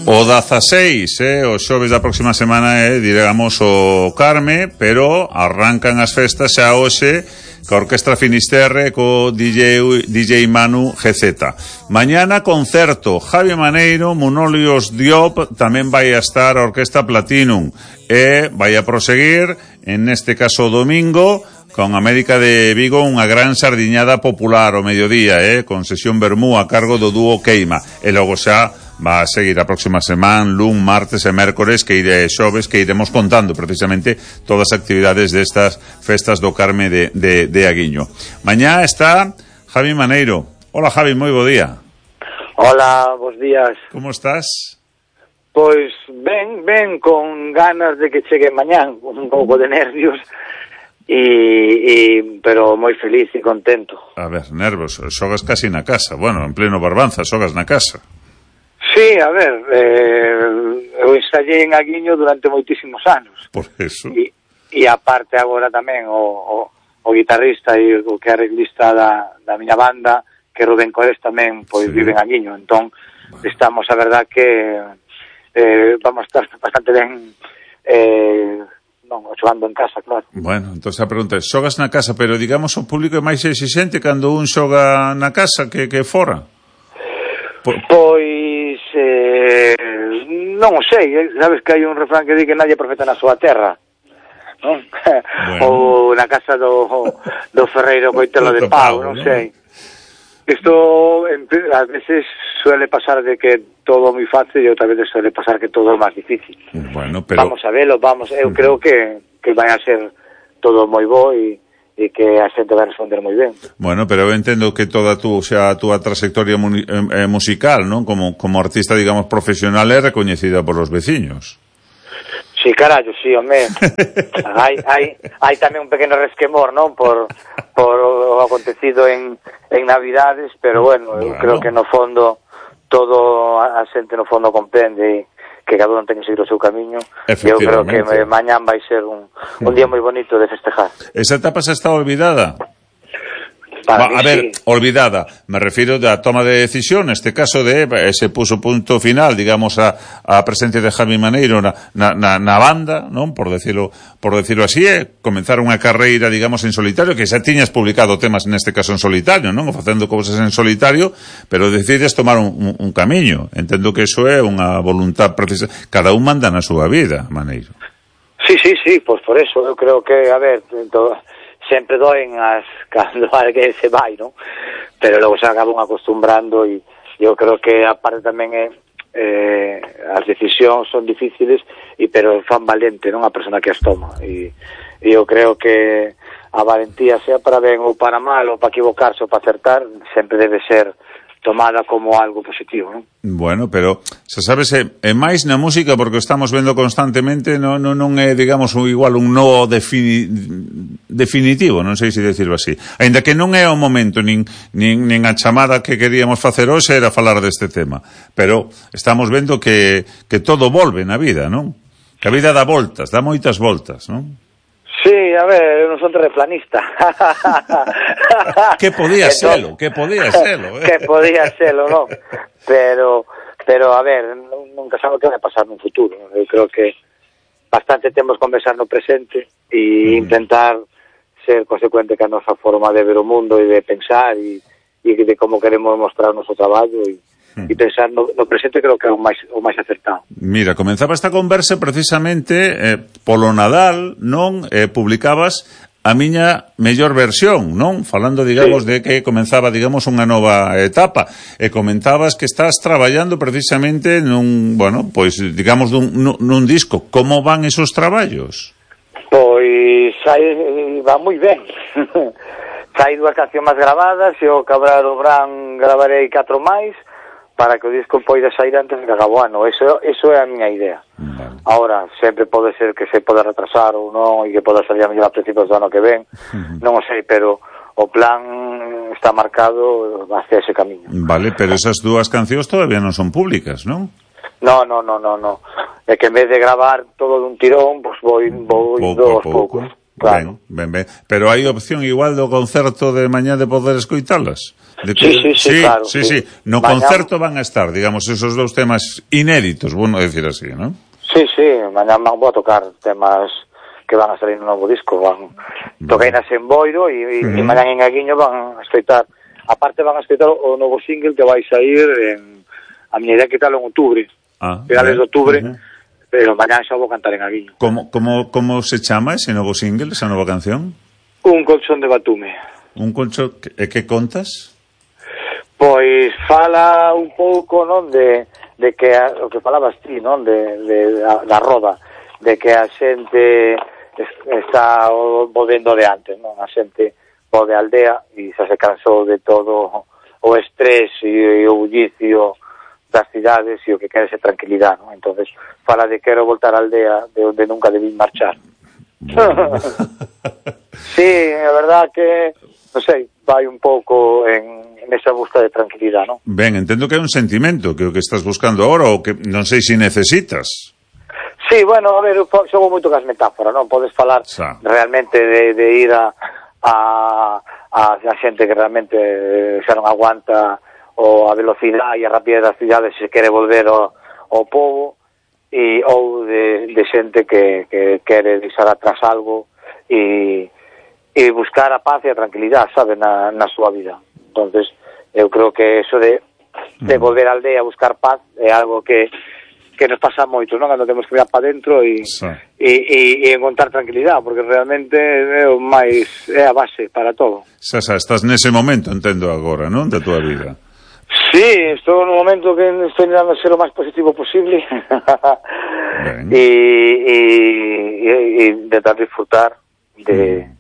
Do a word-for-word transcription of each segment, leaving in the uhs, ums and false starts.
O dezaseis, eh, os xoves da próxima semana é, eh, digamos, o Carme, pero arrancan as festas xa hoxe ca Orquestra Finisterre co D J, D J Manu G Z. Mañana concerto, Javi Maneiro, Munolios Diop, tamén vai a estar a Orquesta Platinum, e vai a proseguir, en este caso domingo, con América de Vigo, unha gran sardiñada popular ao mediodía, eh, con sesión vermú a cargo do dúo Queima, e logo xa va a seguir a próxima semana, lun, martes e mércores, que ire xoves, que iremos contando precisamente todas as actividades destas festas do Carme de, de, de Aguiño. Mañá está Javi Maneiro. Hola, Javi, moi bo día. Hola, bos días. Como estás? Pois ben, ben, con ganas de que chegue mañán, un pouco de nervios, e, e pero moi feliz e contento. A ver, nervos, xogas casi na casa. Bueno, en pleno Barbanza, xogas na casa. Sí, a ver, eh, eu ensayei en Aguiño durante moitísimos anos. Por eso. E, e aparte agora tamén o, o, o guitarrista e o que é arreglista da, da miña banda, que Rubén Cores tamén, pois sí, vive en Aguiño. Entón, bueno, estamos, a verdad, que eh, vamos a estar bastante ben, eh, non, xogando en casa, claro. Bueno, entón a pregunta é, xogas na casa, pero digamos o público é máis exixente cando un xoga na casa que, que fora? Por... Pois, eh, non o sei, sabes que hai un refrán que di que nadie é profeta na súa terra, non? Bueno. Ou na casa do, do ferreiro coitelo de pau, non sei. Isto, a veces suele pasar de que todo moi fácil e outra vez suele pasar que todo é máis difícil. Bueno, pero... Vamos a verlo, vamos, eu creo que, que vai a ser todo moi bo e, e que a xente vai responder moi ben. Bueno, pero eu entendo que toda tú, o sea, a túa trayectoria mu- eh, musical, non? Como, como artista, digamos, profesional é recoñecida por os veciños. Sí, carallo, sí, home. hai, hai, hai tamén un pequeno resquemor, non? Por, por o acontecido en, en Navidades, pero bueno, bueno, eu creo que no fondo todo a xente no fondo comprende que cada un ten que seguir o seu camiño. Eu creo que mañán vai ser un, un día moi bonito de festejar. Esa etapa xa está olvidada? Para Va, a mí, ver, sí. Olvidada, me refiro da toma de decisión, neste caso de ese puso punto final, digamos, a, a presencia de Javi Maneiro na, na, na, na banda, non? Por decirlo, por decirlo así, é comenzar unha carreira, digamos, en solitario, que xa tiñas publicado temas neste caso en solitario, non? Facendo cousas en solitario, pero decides tomar un, un, un camiño. Entendo que eso é unha voluntad precisa. Cada un manda na súa vida, Maneiro. Sí, sí, sí, pois por eso, eu creo que, a ver, todo... sempre doen as cando alguén se vai, non? Pero logo se acaban acostumbrando e eu creo que a parte tamén é eh, as decisións son difíciles e pero fan valente, non? A persona que as toma e, e eu creo que a valentía, sea para ben ou para mal ou para equivocarse ou para acertar, sempre debe ser tomada como algo positivo, non? Bueno, pero, se sabes, é, é máis na música porque estamos vendo constantemente, non, non, non é, digamos, igual un no defini, definitivo, non sei se decirlo así. Ainda que non é o momento, nin, nin, nin a chamada que queríamos facer hoxe era falar deste tema. Pero estamos vendo que, que todo volve na vida, non? Que a vida dá voltas, dá moitas voltas, non? Sí, a ver, eu non son terraplanista. Que podía selo, que podía selo. Eh? Que podía selo, non? Pero, pero a ver, nunca sabe o que vai pasar no futuro. Eu creo que bastante temos que conversar no presente e mm. intentar ser consecuente que a nosa forma de ver o mundo e de pensar e, e de como queremos mostrar o noso traballo e e pensar no, no presente creo que é o máis, o máis acertado. Mira, comenzaba esta conversa precisamente eh, polo Nadal, non? Eh, publicabas a miña mellor versión, non? Falando, digamos, sí, de que comenzaba, digamos, unha nova etapa. E comentabas que estás traballando precisamente nun, bueno, pois, digamos, nun, nun disco. Como van esos traballos? Pois, aí va moi ben. Hai dúas cancións máis gravadas e o Cabral do Bran gravarei catro máis para que o disco poida sair antes de que acabe o ano. Eso, eso é a miña idea. Vale. Ahora, sempre pode ser que se poda retrasar ou non, e que poda salir a mellor a principios do ano que ven. Uh-huh. Non o sei, pero o plan está marcado hacia ese camiño. Vale, pero esas dúas cancións todavía non son públicas, non? No, no, no, no, no. É que en vez de gravar todo dun tirón, pois vou, vou indo aos poucos. Claro. Ben, ben, ben. Pero hai opción igual do concerto de mañá de poder escoitalas? De sí, sí, sí, sí, claro. Sí, sí. sí. No mañá... concerto van a estar, digamos, esos dous temas inéditos, bueno decir así, ¿no? Sí, sí, mañá vou a tocar temas que van a salir no novo disco, van toquei nas en Boiro e, e, uh-huh. e mañá en Aguiño van a escoitar, aparte van a escoitar o novo single que vai sair en, a miña idea que tal en outubro, ah, finales de outubro, uh-huh. pero mañá xa vou cantar en Aguiño. Como, como, como se chama ese novo single, esa nova canción? Un colchón de batume. Un colchón, e que contas? Pois fala un pouco, non, de, de que a, o que falabas ti, non, de, de a, da roda, de que a xente está volvendo de antes, non? A xente volve a aldea e xa se cansou de todo o estrés e, e o bullicio das cidades e o que quere ser tranquilidade, non? Entonces fala de quero voltar á aldea de onde nunca debí marchar. Sí, a verdad que, non sei, vai un pouco en, en esa busca de tranquilidade, non? Ben, entendo que é un sentimento que o que estás buscando agora ou que non sei se necesitas. Sí, bueno, a ver, eu xogo moito cas metáforas, non? Podes falar Sa. realmente de, de ir a, a, a, a xente que realmente xa non aguanta o a velocidade e a rapidez das cidades se quere volver ao, ao povo, e, ou de, de xente que, que quere deixar atrás algo e, e buscar a paz e a tranquilidade, sabe, na, na súa vida. Entonces, eu creo que eso de, de volver á aldea a buscar paz é algo que que nos pasa moito, non? Cando temos que mirar para dentro e, sí. e, e, e encontrar tranquilidade, porque realmente é o máis, é a base para todo. Xa, xa, estás nese momento, entendo agora, non? Da tua vida. Sí, estou no momento que estou intentando ser o máis positivo posible e, e, e, e intentar disfrutar de, mm.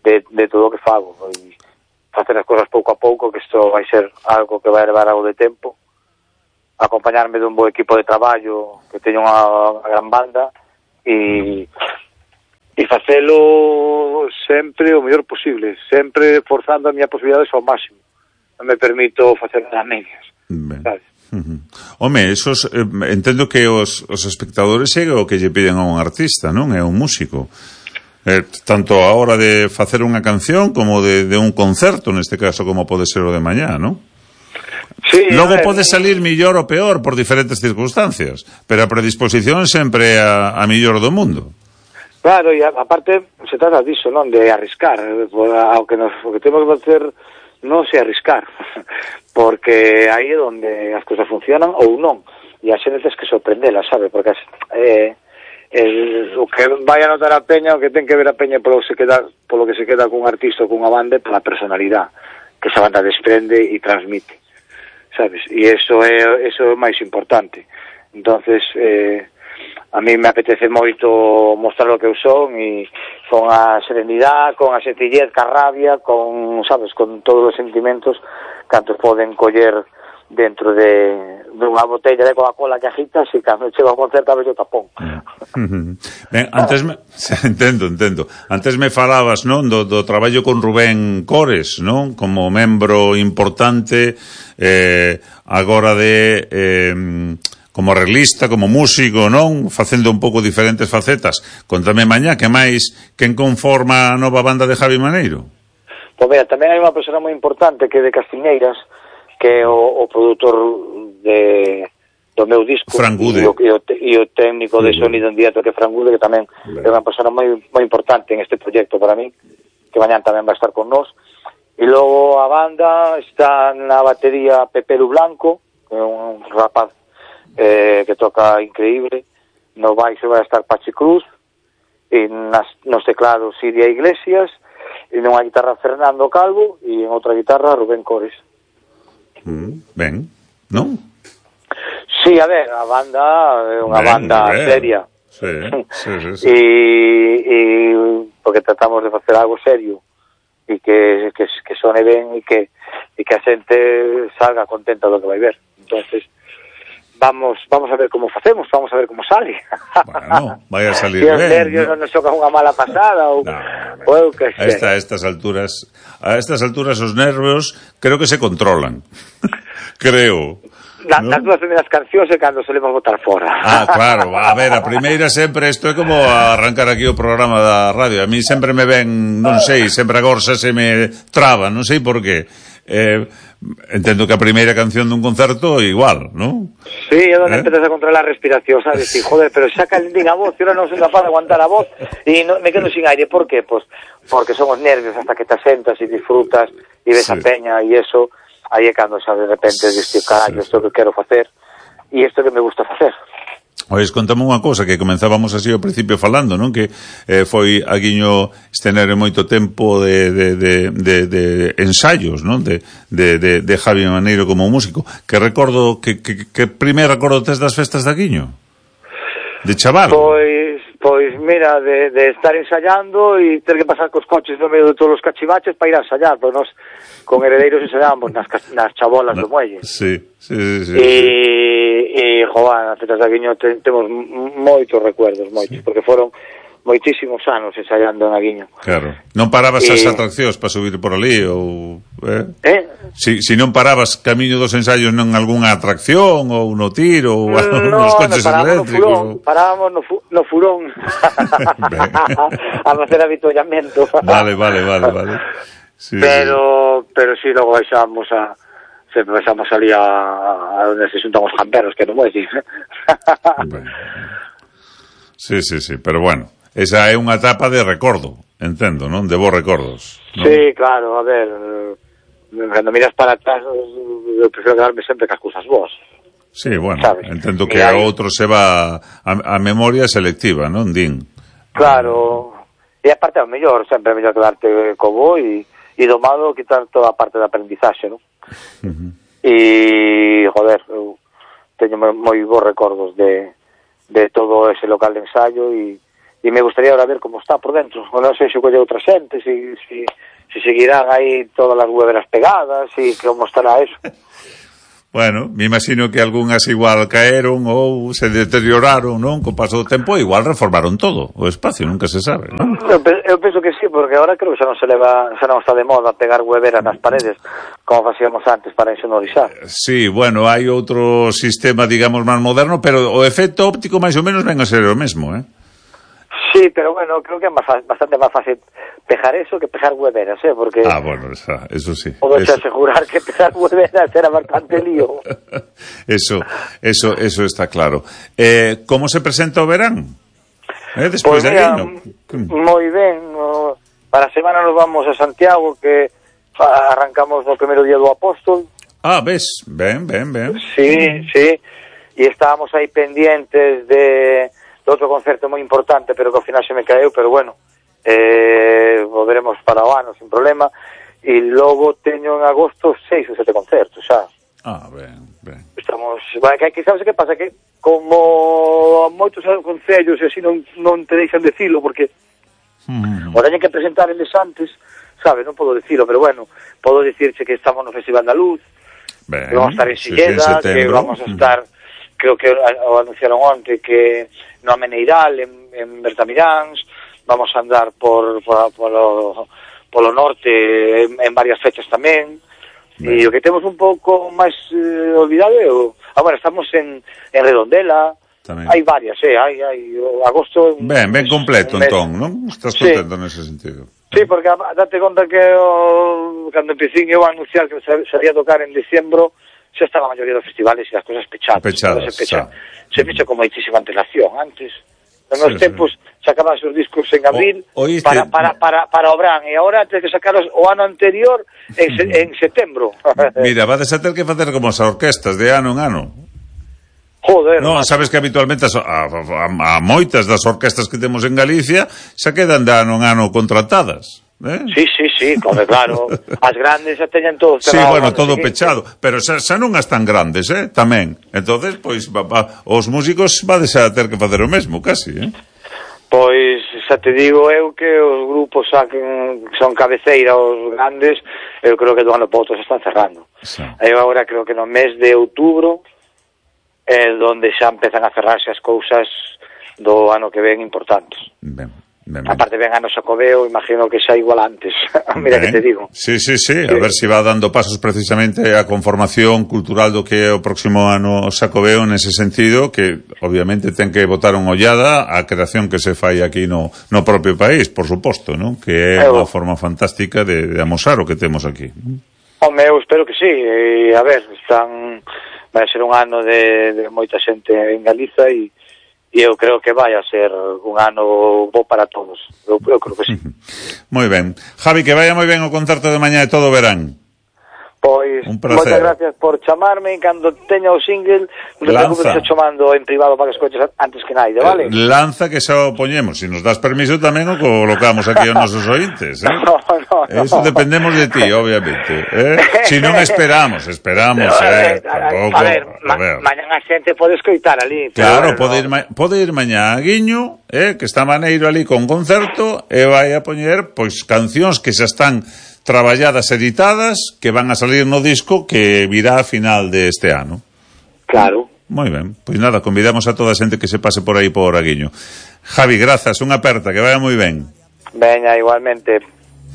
de, de todo o que fago e facer as cousas pouco a pouco, que isto vai ser algo que vai levar algo de tempo, acompañarme dun bo equipo de traballo, que teño unha, unha gran banda e, e facelo sempre o mellor posible, sempre forzando a miña posibilidades ao máximo. Non me permito facer as medias, sabes? Uh-huh. Home, esos, eh, entendo que os, os espectadores é o que lle piden a un artista, non? É un músico. Eh, tanto a hora de facer unha canción como de, de un concerto, neste caso, como pode ser o de mañá, non? Sí, logo pode salir millor ou peor por diferentes circunstancias, pero a predisposición sempre a, a millor do mundo. Claro, e aparte se trata disso, non? De arriscar, ao que, nos, o que temos que facer non se arriscar, porque aí é onde as cousas funcionan ou non, e a xente tens que sorprendela, sabe? Porque eh, el, o que vai a notar a peña, o que ten que ver a peña polo, se queda, polo que se queda cun artista ou cunha banda, pola personalidade que esa banda desprende e transmite, sabes? E eso é eso é o máis importante. Entonces, eh, a mí me apetece moito mostrar o que eu son e con a serenidade, con a sencillez, ca rabia, con, sabes, con todos os sentimentos cantos poden coller dentro de dunha botella de Coca-Cola que agitas e cando chega a concerto a ver o tapón. Ben, antes me... entendo, entendo. Antes me falabas, non, do, do traballo con Rubén Cores, non? Como membro importante eh, agora de... Eh, como arreglista, como músico, non? Facendo un pouco diferentes facetas. Contame mañá, que máis, quen conforma a nova banda de Javi Maneiro? Pois mira, tamén hai unha persona moi importante que é de Castiñeiras, que é o, o produtor de, do meu disco. Fran Gude. E o, e o, e o técnico de sonido en directo, que é Fran Gude, que tamén é unha persona moi, moi importante en este proxecto para mí, que mañán tamén vai estar con nós. E logo a banda está na batería Pepe Lu Blanco, que é un rapaz Eh, que toca increíble. No baixo vai estar Pachi Cruz, e nas, nos teclados Siria Iglesias, e nunha guitarra Fernando Calvo, e en outra guitarra Rubén Cores. Mm, ben, non? Sí, a ver, a banda é unha ben, banda ben. seria. Sí, sí, sí, sí. E, e porque tratamos de facer algo serio e que, que, que sone ben e que, e que a xente salga contenta do que vai ver. Entonces Vamos, vamos a ver como facemos, vamos a ver como sale. Bueno, vai a salir ben. Si os nervios non nos xocan unha mala pasada ou, no, ou eu que sei. A, esta, a estas alturas, a estas alturas os nervios creo que se controlan. creo. Na, ¿no? Nas dúas primeiras cancións é cando solemos botar fora. Ah, claro, a ver, a primeira sempre, isto é como arrancar aquí o programa da radio. A mí sempre me ven, non sei, sempre agora xa se me traba, non sei por qué. Eh, entendo que a primeira canción dun concerto igual, non? Sí, é onde ¿Eh? empezas a controlar a respiración, sabes? Y, joder, pero xa calentín a voz, e ahora non son capaz de aguantar a voz e no, me quedo sin aire. Por qué? Pues porque son os nervios hasta que te asentas e disfrutas e ves sí. a peña e eso, aí é cando xa de repente dices, carallo, isto que quero facer e isto que me gusta facer. Ois, contame unha cousa que comenzábamos así ao principio falando, non? Que eh, foi a Guiño estener moito tempo de, de, de, de, de ensaios, non? De, de, de, de Javi Maneiro como músico. Que recordo, que, que, que primeiro recordo tes das festas da Guiño? De chaval? Pois, pois mira, de, de estar ensayando e ter que pasar cos coches no medio de todos os cachivaches para ir a ensayar, pois nos con heredeiros ensayábamos nas, nas chabolas no, do muelle. Sí, sí, sí. sí, e, sí. e joder, as festas da Guiño te, temos moitos recuerdos, moitos, sí. Porque foron moitísimos anos ensayando na Guiño. Claro. Non parabas e... as atraccións para subir por ali ou... Eh? eh? Si, si non parabas camiño dos ensaios non algunha atracción ou no tiro ou no, nos coches no, eléctricos? No furón, parábamos no, fu no furón a facer avituallamento. Vale, vale, vale, vale. Sí, pero, sí. pero si sí, logo baixamos a... Sempre baixamos ali a, a onde se xuntan os camperos, que non vou dicir. Sí, sí, sí, pero bueno, esa é unha etapa de recordo, entendo, non? De vos recordos, non? Sí, claro, a ver, cando miras para atrás, eu prefiro quedarme sempre cas cousas boas. Sí, bueno, ¿sabes? Entendo que a outro se va a, a memoria selectiva, non, Din? Claro, e a parte é o mellor, sempre é mellor quedarte co bo e, e domado quitar toda a parte de aprendizaxe, non? Uh -huh. E, joder, eu teño moi bons recordos de, de todo ese local de ensayo e, e me gustaría ahora ver como está por dentro, o non sei se colle outra xente, se, se, se seguirán aí todas as hueveras pegadas e como estará eso. Bueno, me imagino que algunhas igual caeron ou se deterioraron, non? Co paso do tempo igual reformaron todo o espacio, nunca se sabe, non? Eu, eu penso que sí, porque ahora creo que xa non se leva, xa non está de moda pegar hueveras nas paredes como facíamos antes para insonorizar. Sí, bueno, hai outro sistema, digamos, máis moderno, pero o efecto óptico máis ou menos ven a ser o mesmo, eh? Sí, pero bueno, creo que é más, bastante máis fácil pejar eso que pejar hueveras, ¿eh? Porque... Ah, bueno, eso, eso sí. Puedo eso... asegurar que pejar hueveras era bastante lío. eso, eso, eso está claro. Eh, ¿Cómo se presenta o verán? Eh, despois pues de mira, Guiño. Moi ben. No, para a semana nos vamos a Santiago, que arrancamos no primeiro día do Apóstol. Ah, ves, ben, ben, ben. Sí, sí. E estábamos aí pendientes de... de outro concerto moi importante, pero que ao final se me caeu, pero bueno, eh, volveremos para o ano sin problema, e logo teño en agosto seis ou sete concertos, xa. Ah, ben, ben. Estamos, bueno, que, que sabes que pasa, que como moitos concellos e así non, non te deixan decilo, porque mm. o teñen que presentar eles antes, sabes, non podo decilo, pero bueno, podo dicirche que estamos no Festival da Luz, ben, que vamos a estar en Silleda, sí, que vamos a estar... Mm. Creo que o anunciaron onte que no Ameneiral, en, en Bertamiráns, vamos a andar por, por polo, polo norte en, en varias fechas tamén. E o que temos un pouco máis eh, olvidado é o... Ah, bueno, estamos en, en Redondela, tamén. Hai varias, eh, hai, hai o agosto... Ben, ben completo, entón, non? Estás contento sí. Nese sentido. Sí, porque date conta que o, cando empecín eu a anunciar que sería tocar en diciembro, xa está a maioría dos festivales e as cosas pechadas. Pechadas, se pecha, se pecha con moitísima antelación. Antes, nos meus sí, tempos, sí. Sacabas os discos en abril o, para, para, para, para o Bran, e agora tens que sacaros o ano anterior en, se, en setembro. Mira, vades a ter que facer como as orquestas de ano en ano. Joder. Non, sabes que habitualmente a, a, a moitas das orquestas que temos en Galicia xa quedan de ano en ano contratadas. ¿Eh? Sí, sí, sí, como claro. As grandes xa teñen todo cerrado. Sí, bueno, todo pechado, pero xa, xa non as tan grandes, eh, tamén. Entonces, pois, va, va, os músicos vades a ter que facer o mesmo, casi, eh? Pois, xa te digo eu que os grupos saquen, son cabeceira os grandes, eu creo que do ano para outro se están cerrando. Sí. Eu agora creo que no mes de outubro é onde xa empezan a cerrarse as cousas do ano que ven importantes. Ben. Ben, ben. Aparte ven a no Xacobeo, imagino que xa igual antes. Mira ben. Que te digo. Sí, sí, sí, sí, a ver se si va dando pasos precisamente a conformación cultural do que é o próximo ano Xacobeo nese sentido, que obviamente ten que botar unha ollada a creación que se fai aquí no, no propio país, por suposto, ¿no? Que é unha forma fantástica de, de amosar o que temos aquí. Home, eu espero que sí, e, a ver, están vai ser un ano de, de moita xente en Galiza e e eu creo que vai a ser un ano bo para todos. Eu, eu creo que sí. Moi ben. Javi, que vaya moi ben o concerto de mañá e todo verán. Pois, moitas gracias por chamarme. Cando teña o single, non te preocupes, chamando en privado para que escoches antes que naide, vale? Lanza que xa o poñemos. Se nos das permiso tamén o colocamos aquí aos nosos ointes, eh? No, no, no. Eso dependemos de ti, obviamente, eh? Si non esperamos, esperamos, eh? Tampouco, a ver, ma, mañan a xente pode escoitar ali. Claro, bueno, pode, ir ma pode ir mañá a Guiño, eh? Que está maneiro ali con concerto, e vai a poñer, pois, cancións que xa están traballadas, editadas, que van a salir no disco que virá a final deste ano. Claro. Moi ben, pois nada, convidamos a toda a xente que se pase por aí por Aguiño. Javi, grazas, unha aperta, que vaya moi ben. Veña, igualmente.